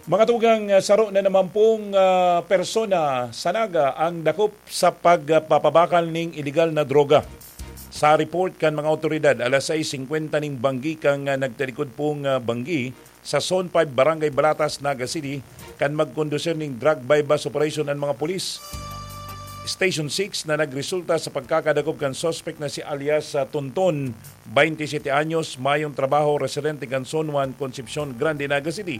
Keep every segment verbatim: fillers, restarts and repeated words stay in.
Mga tugang, ah, saro na naman pong, ah, persona sa Naga ang dakop sa pagpapabakal ning iligal na droga. Sa report kan mga awtoridad, alas sais singkwenta ning banggi kan, ah, nagtalikod pong, ah, banggi sa Zone five, Barangay Balatas, Naga City, kan magkondusir ning drug buy-bust operation an mga pulis. Station six na nagresulta sa pagkakadakop kan suspek na si alias, ah, Tonton, baynte siyete anyos, mayong trabaho, residente kan Zone one, Concepcion Grande, Naga City.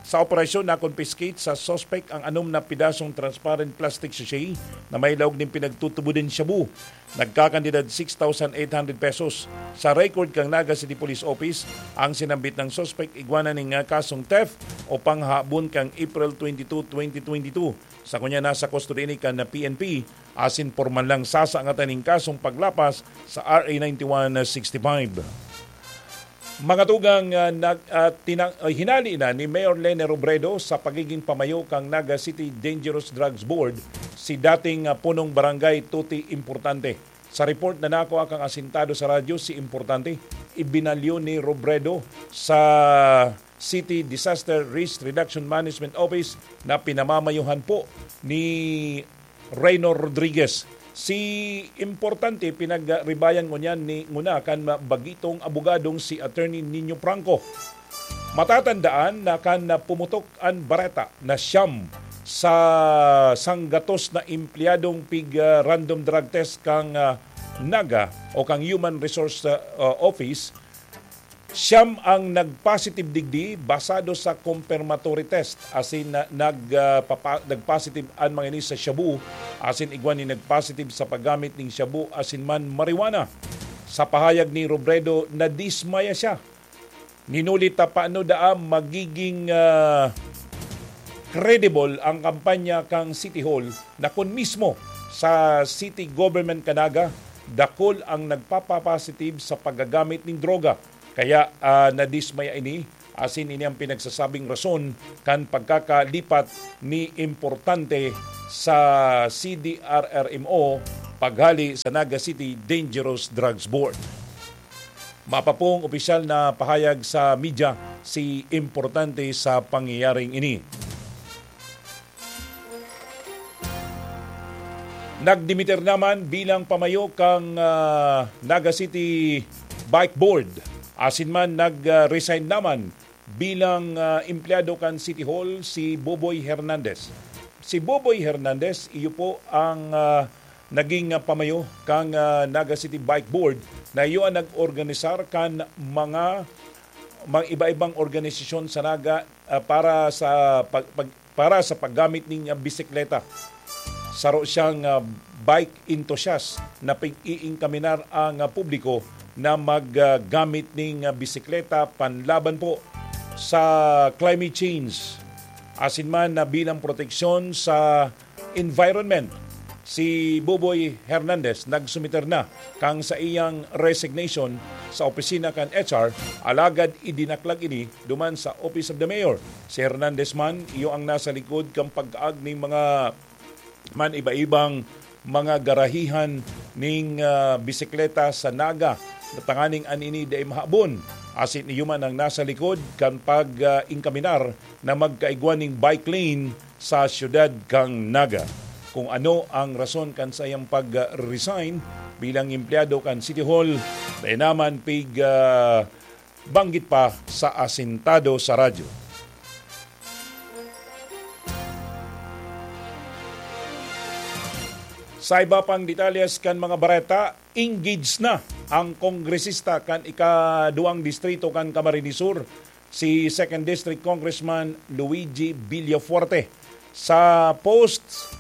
Sa operasyon, na-confiscate sa suspek ang anom na pidasong transparent plastic sachet na may laog nin pinagtutubod nin shabu. Nagkakantidad six thousand eight hundred pesos. Sa record kan Naga City Police Office, ang sinambit na suspek igwa na ning, ah, kasong theft o panghahabon kan April twenty-two, twenty twenty-two. Sa kunya, nasa kustodiya ini kan P N P asin pormal lang sasangatan ning kasong paglapas sa R A ninety-one sixty-five. Mga tugang, ah, nag-, ah, tinang-, ah, hinali na ni Mayor Leni Robredo sa pagiging pamayo kan Naga City Dangerous Drugs Board si dating, ah, punong barangay Tuti Importante. Sa report na nakua kan asintado sa radyo, si Importante, ibinalyo ni Robredo sa City Disaster Risk Reduction Management Office na pinamamayuhan po ni Reyno Rodriguez. Si Importante, pinagribayan ngunyan ni, nguna kan bagitong abogadong si Attorney Nino Franco. Matatandaan na kan pumutok an bareta na siyam sa sanggatos na empleyadong pig, ah, random drug test kang, ah, Naga o kang Human Resource, ah, Office, siyam ang nagpositive digdi basado sa confirmatory test, asin na, nag, ah, papa-, nagpositive an mga ini sa shabu, asin igwa nin nagpositive sa paggamit ning shabu asin man marijuana. Sa pahayag ni Robredo, nadismaya siya. Ninulit ta paano daa magiging, ah, credible ang kampanya kan City Hall na kun mismo sa city government kan Naga, dakul ang nagpapapositive sa paggagamit nin droga. Kaya, ah, nadismaya ini, asin ini ang pinagsasabing rason kan pagkakalipat ni Importante sa C D R R M O paghali sa Naga City Dangerous Drugs Board. Mapapong opisyal na pahayag sa media si Importante sa pangyayaring ini. Nagdimiter naman bilang pamayo kang, ah, Naga City Bike Board. Asin man, nag, ah, resign naman bilang, ah, empleyado kan City Hall si Boboy Hernandez. Si Boboy Hernandez, iyo po ang, ah, naging, ah, pamayo kan, ah, Naga City Bike Board na iyo ang nag-organisar kan mga, mga iba-ibang organisasyon sa Naga, ah, para sa pag-, pag-, para sa paggamit ning, ah, bisikleta. Saro siyang, ah, bike enthusiast na pig-iingkaminar ang, ah, publiko na maggamit ning, ah, bisikleta panlaban po sa climate change, asin man na bilang proteksyon sa environment. Si Boboy Hernandez nagsumiter na kan saiyang resignation sa opisina kan H R, alagad idinaklag ini duman sa Office of the Mayor. Si Hernandez man, iyo ang nasa likod kan pagkaag ning mga man iba-ibang mga garahihan ning, ah, bisikleta sa Naga, tanganing an ini dai mahabon. Asin iyo man ang nasa likod kan pag, ah, ingkaminar na magkaigwa ning bike lane sa siyudad kan Naga. Kung ano ang rason kan saiyang pag-resign bilang empleyado kan City Hall, dai naman pig, ah, banggit pa sa asintado sa radyo. Sa iba pang detalles kan mga bareta, engaged na ang kongresista kan ikaduwang distrito kan Camarines Sur, si Second District Congressman Luigi Villafuerte. Sa post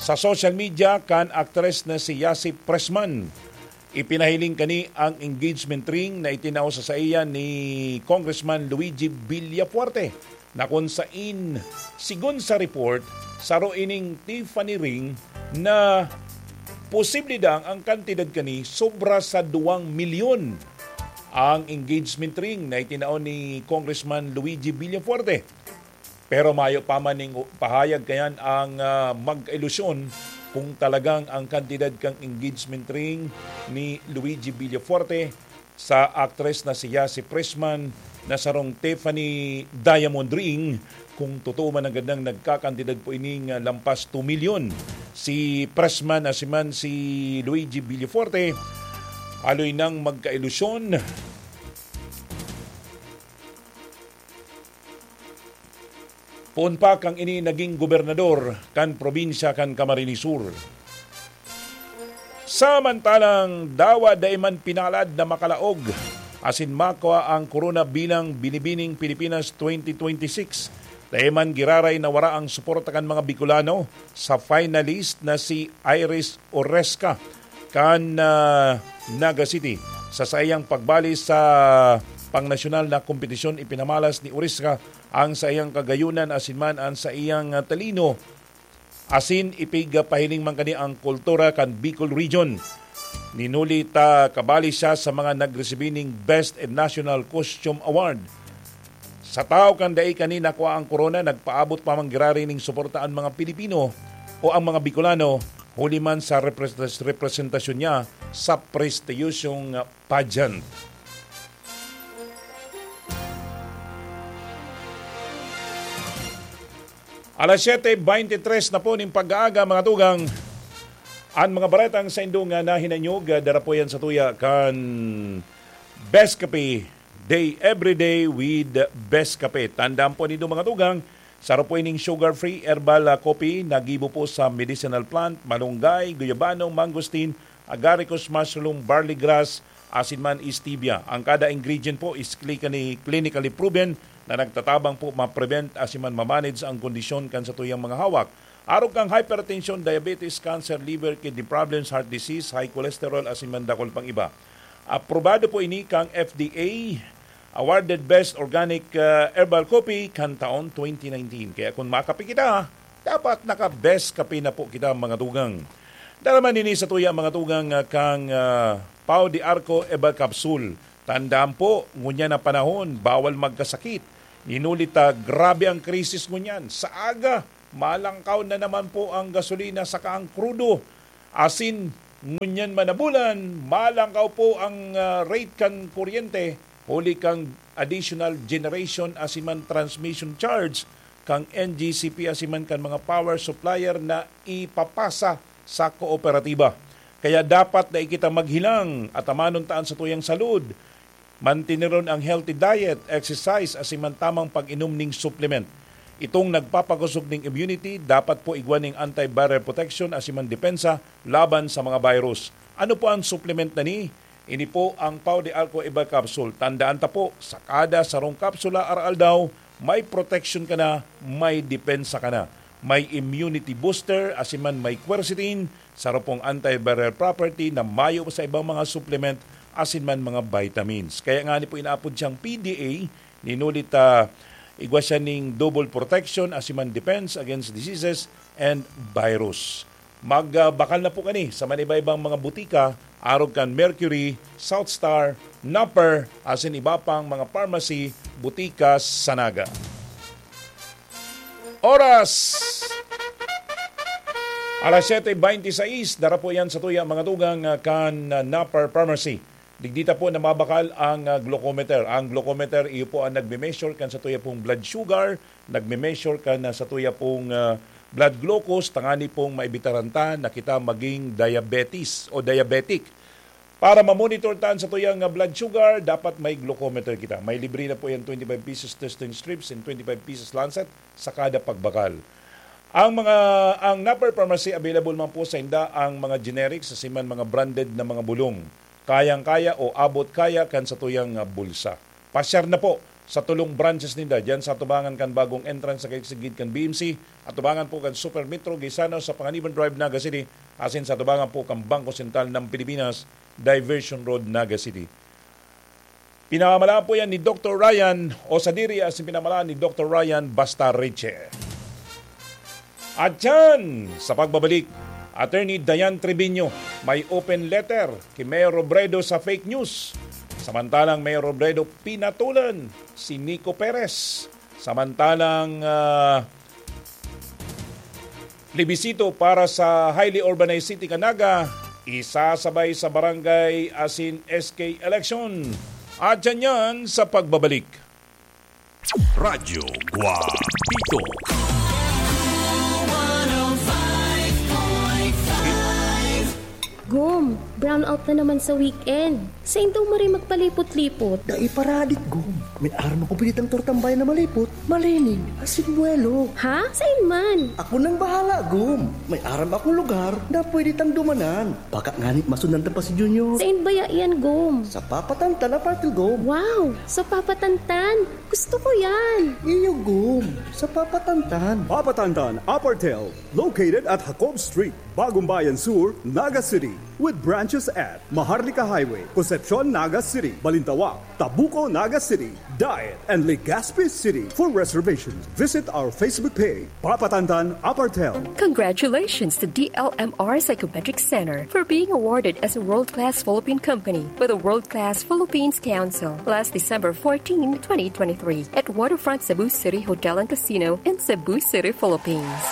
sa social media kan aktres na si Yasi Pressman, ipinahiling kani ang engagement ring na itinao sa saiya ni Congressman Luigi Villafuerte, na kun sain, sigon sa report, saro ining Tiffany ring na posible daang ang kantidad kani sobra sa duwang milyon. Ang engagement ring na itinao ni Congressman Luigi Villafuerte. Pero mayo pa man ning pahayag kayan ang, ah, magkailusyon kung talagang ang kantidad kan engagement ring ni Luigi Villafuerte sa aktres na si Yasi Pressman na sarong Tiffany Diamond Ring, kung totoo man ang gandang nagkakantidad po ining, ah, lampas two milyon. Si Pressman asiman si Luigi Villafuerte, haloy nang magkailusyon. Poon pa kan ini naging gobernador kan probinsya kan Camarines Sur. Samantalang dawa dai man pinalad na makalaog asin makua ang korona bilang Binibining Pilipinas twenty twenty-six, dai man giraray na wara ang suporta kan mga Bicolano sa finalist na si Iris Oresca kan, ah, Naga City. Sa saiyang pagbali sa pangnasyonal na kompetisyon, ipinamalas ni Oresca ang saiyang kagayunan asin man ang saiyang, ah, talino asin ipigpahiling man kani ang kultura kan Bicol Region. Ninuli ta kabali siya sa mga nagresibi ning Best National Costume Award. Sa tawo kan dai kani nakua ang korona, nagpaabot pa man giraray ning suporta an mga Pilipino o ang mga Bicolano, huli man sa repres-, representasyon niya sa prestiyosong pageant. Alas siyete beintitres na po ning pag-aaga, mga tugang. An mga baretang saindong, ah, nahinanyog, ah, dara po yan sa tuya kan Best Kape Day, every day with Best Kape. Tandaan po nindo, mga tugang, saro po ining sugar-free herbal, ah, coffee na gibo po sa medicinal plant, malunggay, guyabano, mangosteen, agaricus mushroom, barley grass, asin man stevia. Ang kada ingredient po is cli-, clinically proven na nagtatabang po ma-prevent asin man ma-manage ang kondisyon kan satuyang mga hawak. Arog kan hypertension, diabetes, cancer, liver, kidney problems, heart disease, high cholesterol, asin man dakul pang iba. Aprobado po ini kan F D A, awarded Best Organic, uh, Herbal Coffee kan taon twenty nineteen. Kaya kung makape kita, dapat naka-best kape na po kita, mga tugang. Dara man ini sa tuya, mga tugang, uh, kang, uh, Pau de Arco Herbal Capsule. Tandaan po, ngunyan na panahon, bawal magkasakit. Ninuli ta, grabe ang krisis ngunyan. Sa aga, malangkaw na naman po ang gasolina saka ang krudo. Asin, ngunyan man na bulan, malangkaw po ang, ah, rate kan kuryente, huli kan additional generation asin man transmission charge kan N G C P asin man kan mga power supplier na ipapasa sa kooperatiba. Kaya dapat dai kita maghilang, atamanon ta an satuyang salud. Manteneron ang healthy diet, exercise, asin man tamang pag-inom ning supplement. Itong nagpapakosog ning immunity, dapat po igwa ning antiviral protection asin man depensa laban sa mga virus. Ano po ang supplement na ni? Ini po ang Pau de Arco Iba Capsule. Tandaan ta po, sa kada sarong kapsula arawaldaw, may protection ka na, may depensa ka na. May immunity booster, asin man may quercetin, saro pong antiviral property na mayo sa ibang mga supplement, asin man mga vitamins. Kaya nga ni po inaapod siyang P D A, ninuli ta igwa siya ning double protection, asin man defense against diseases and virus. Magbakal na po kani sa manibaybang mga butika, arog kan Mercury, South Star, Napper, asin iba pang mga pharmacy, butika sa Naga. Oras! Alas siyete beintisais, dara po yan sa tuya, mga tugang, ah, kan, ah, Napper Pharmacy. Digdi ta po na mabakal ang, ah, glucometer. Ang glucometer, iyo po ang nagme-measure kan sa tuya pong blood sugar, nagme-measure kan, ah, sa tuya pong, ah, blood glucose, tangani pong maibitaran ta na kita maging diabetes o diabetic. Para ma-monitor ta an satuyang, ah, blood sugar, dapat may glucometer kita. May libre na po yan, twenty-five pesos testing strips and twenty-five pesos lancet sa kada pagbakal. Ang mga, ang Napper Pharmacy, available man po sa inda ang mga generics, asin man mga branded na mga bulong. Kayang-kaya o abot kaya kan satuyang, ah, bulsa. Pasyar na po sa tulong branches ninda diyan sa atubangan kan bagong entrance sa kasigid kan B M C, atubangan po kan Super Metro Gaisano sa Panganiban Drive, Naga City, asin sa atubangan po kan Bangko Sentral ng Pilipinas, Diversion Road, Naga City. Pinamalaan po yan ni Doktor Ryan o sadiri asin pinamalaan ni Doktor Ryan Basta Riche. At yan, sa pagbabalik, Attorney Diane Treviño, may open letter ki Mayor Robredo sa fake news. Samantalang Mayor Robredo pinatulan si Nico Perez. Samantalang, ah, plebisito para sa highly urbanized city kan Naga, isasabay sa barangay asin S K election. At yan yan sa pagbabalik. Radyo Guapito. Gom, brownout na naman sa weekend. Sain daw maray magpalipot-lipot? Dai paradik, Gom. May aram ako pinitang tortang bayan na malipot, malinig, asin buwelo. Ha? Sain man? Ako nang bahala, Gom. May aram akong lugar na pwede tang dumanan. Baka ngani masundan ta pa si Junior. Sain baya iyan, Gom? Sa Papa Tantan Apartel, Gom. Wow! Sa Papa Tantan? Gusto ko yan! Iyo, Gom. Sa Papa Tantan. Papa Tantan Apartel, located at Jacob Street, Bagong Bayan Sur, Naga City, with branches at Maharlika Highway, Concepcion, Naga City, Balintawak, Tabuco, Naga City, Daet, and Legazpi City. For reservations, visit our Facebook page, Papa Tantan Apartel. Congratulations to D L M R Psychometric Center for being awarded as a world-class Philippine company by the World Class Philippines Council last December fourteen, twenty twenty-three, at Waterfront Cebu City Hotel and Casino in Cebu City, Philippines.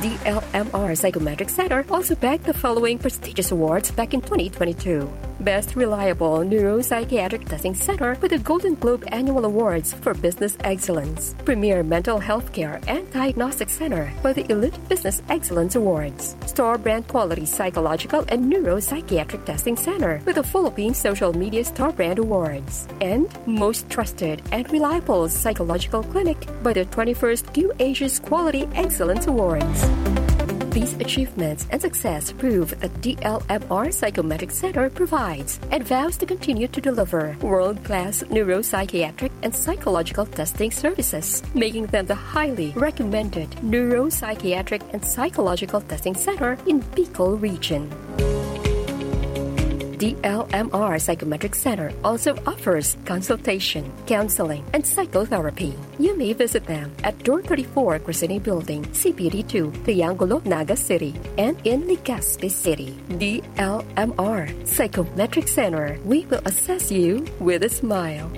D L M R Psychometric Center also bagged the following prestigious awards back in twenty twenty-two. Best Reliable Neuropsychiatric Testing Center with the Golden Globe Annual Awards for Business Excellence. Premier Mental Health Care and Diagnostic Center by the Elite Business Excellence Awards. Star Brand Quality Psychological and Neuropsychiatric Testing Center with the Philippine Social Media Star Brand Awards. And most trusted and reliable psychological clinic by the twenty-first Q Asia's Quality Excellence Awards. These achievements and success prove that D L M R Psychometric Center provides and vows to continue to deliver world-class neuropsychiatric and psychological testing services, making them the highly recommended neuropsychiatric and psychological testing center in Bicol Region. D L M R Psychometric Center also offers consultation, counseling, and psychotherapy. You may visit them at Door thirty-four, Crescene Building, C P D two, Triangulo, Naga City, and in Legazpi City. D L M R Psychometric Center. We will assess you with a smile.